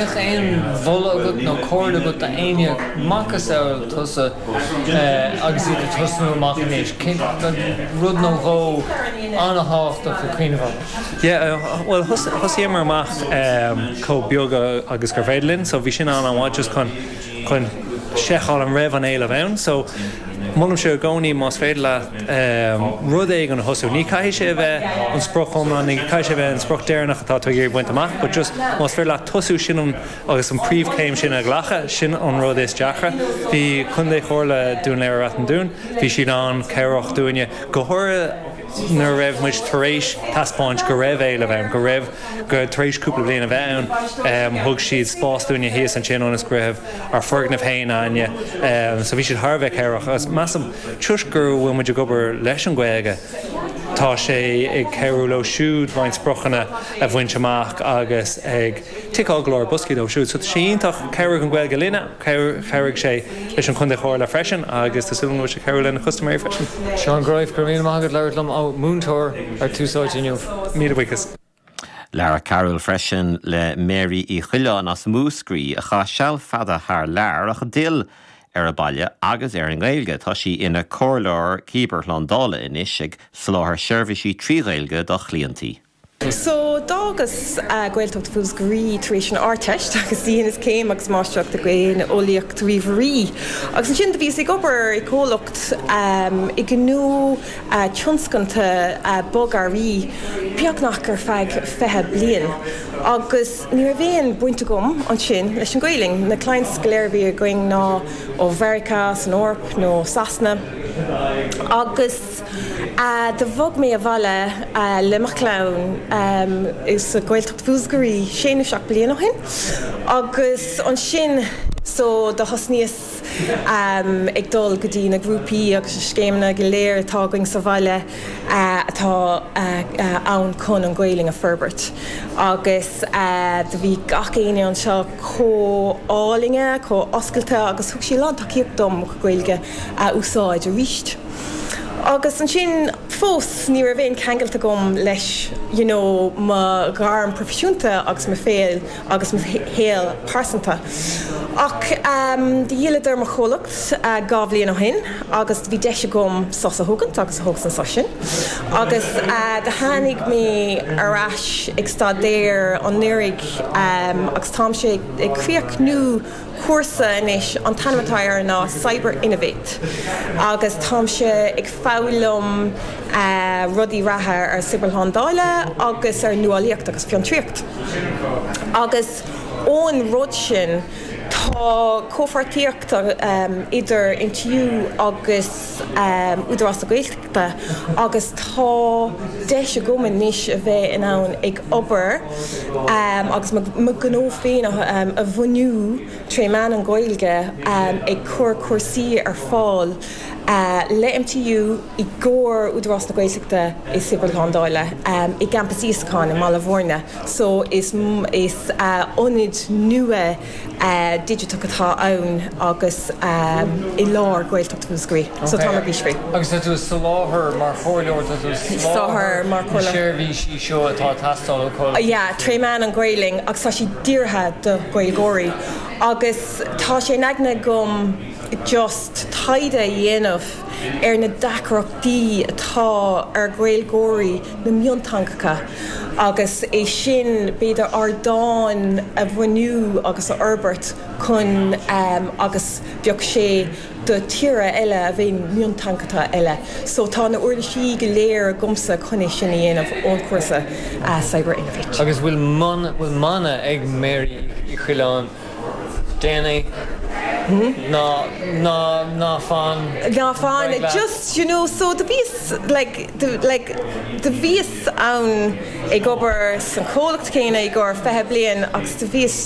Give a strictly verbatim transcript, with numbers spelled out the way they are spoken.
Bheadh aon mholadh agat nó comhairle agat d'éinne macasamhail tusa agus iad ag tosnú amach anois, rud nó dhó an-tábhachtach le cuimhneamh air? Yeah, well thosaíomar amach chomh beag agus gur féidir linn, so bhí sin an-mhaith just chun chun seiceáil an raibh an éileamh ann. So molaimse i gcónaí más féidir leat rud éigin a thosú. Ní caithfidh sé a bheith an sprioc iomlán, ní caithfidh sé a bheith an sprioc deireanach atá tú ag iarraidh baint amach, but just más féidir leat tosú sin an agus an príomhchéim sin a ghlacadh, sin an rud is deacra. Bhí Contae Chomhairle Dún Laoghaire-Rath an Dúin, bhí siad an-chabhrach dúinne go háirithe nuair a raibh muid tar éis taispeáint go raibh éileamh ann, go raibh go tar éis cúpla bliain a bheith ann, thug siad spás dúinne thíos ansin ionas go raibh ár foirgneamh féin againne. So bhí siad thar a bheith cabhrach agus measaim toisc go bhfuil muid ag obair leis an Ghaeilge, tá sé ag cabhrú leo siúd roinnt spriocanna a bhaint amach agus ag ticeáil go leor boscaí dóibh siúd. So tá sé iontach chabhraigh an Ghaeilge linne, chabhraigh sé leis an Chontae Chomhairle freisin agus tá súil agam go bhfuil sé cabhrú lena custaiméirí freisin. Seán Greif go raibh míle maith agat labhairt liom ó múinteoir ar Tús Áite inniu. Míle buíochas. Labhair Carol freisin le Mary Uí Choileáin as Múscraí a chaith seal fada thar lear ach a d'fhill ar a baile agus ar an nGaeilge. Tá sí ina comhairleoir cibearshlándála anois ag soláthar seirbhísí trí Ghaeilge dá cliaintí. So d'fhágas Gaeltacht Mhúscraí tar éis an Ardteist agus dheineas céim agus máistreacht i nGaeilgeolaíocht ríomhairí. Agus ansin do bhíos ag obair i comhlacht i gnó tionscanta bogearraí beagnach ar feadh fiche bliain. Agus ní raibh aon baint agam ansin leis an Ghaeilge. Na clients go léir a bhí againn ná ó Mheiriceá san Eoraip nó Sasana. Agus do bhog mé abhaile le mo chlann sa Ghaeltacht Mhúscraí sé nó seacht bliain ó shin. Agus ansin so do thosnaíos ag dul go dtí na grúpaí agus na scéimeanna go léir atá againn sa bhaile atá ann chun an Ghaeilge a forbairt. Agus do bhí gach éinne anseo chomh álainn, chomh oscailte agus thug sé lán tacaíocht dom Gaeilge a úsáid arís. Agus ansin fós ní raibh aon cheangal agam leis you know, mo ghairm proifisiúnta agus mo shaol agus mo shaol pearsanta. Ach um, dhíoladar mo chomhlacht uh, dhá bhliain ó shin agus bhí deis agam sos a thógaint agus thógas an sos sin. Agus uh, do tháinig mé ar ais ag staidéar anuraidh um, agus táimse ag críochnú cúrsa anois an t-ainm atá air ná Cyber Innovate. Agus táimse ag foghlaim uh, rudaí reatha ar cibearshlándáil agus ar nuálaíocht agus fiontraíocht. Agus ón rud sin tá comhpháirtíocht um, idir MTU agus um, Údarás na Gaeltachta agus tá deis agam anois a bheith in ann ag obair um, agus mo ghnó féin um, a bhunú tré mheán an Ghaeilge um, ag cur cúrsaí ar fáil uh, le MTU i gcomhair Údarás na Gaeltachta i cibearshlándáil um, i gCampas Íosacáin i mBaile Bhúirne. So is, is uh, ionad nua uh, digiteach atá ann agus um, i lár Gaeltacht Mhúscraí. So tá bís free. Agus tá tú soláthar mar chomhairleoir Soláthar mar chomhairleoir. seirbhísí seo atá teastáil ó Yeah, tré mheán an Ghaeilge agus tá sí dírithe do Ghaeilgeoirí. Agus tá sé in aigne agam just taighde a dhéanamh ar na deacrachtaí atá ar Ghaeilgeoirí na mionteangacha agus é sin b'fhéidir ardán a bhunú agus a fhorbairt chun um, agus bheadh sé do tíortha eile a bheith mionteangacha eile. So tá na huirlisí go léir agamsa chun é sin a dhéanamh ón cúrsa uh, Cyber Innovate. Agus bhfuil bhfuil mana ag Mary Uí Choileáin déan é ná ná ná fan Ná fan just you know so do bhíos like do, like do bhíos ann ag obair san chomhlacht céanna i gcomhair fiche bliain agus do bhíos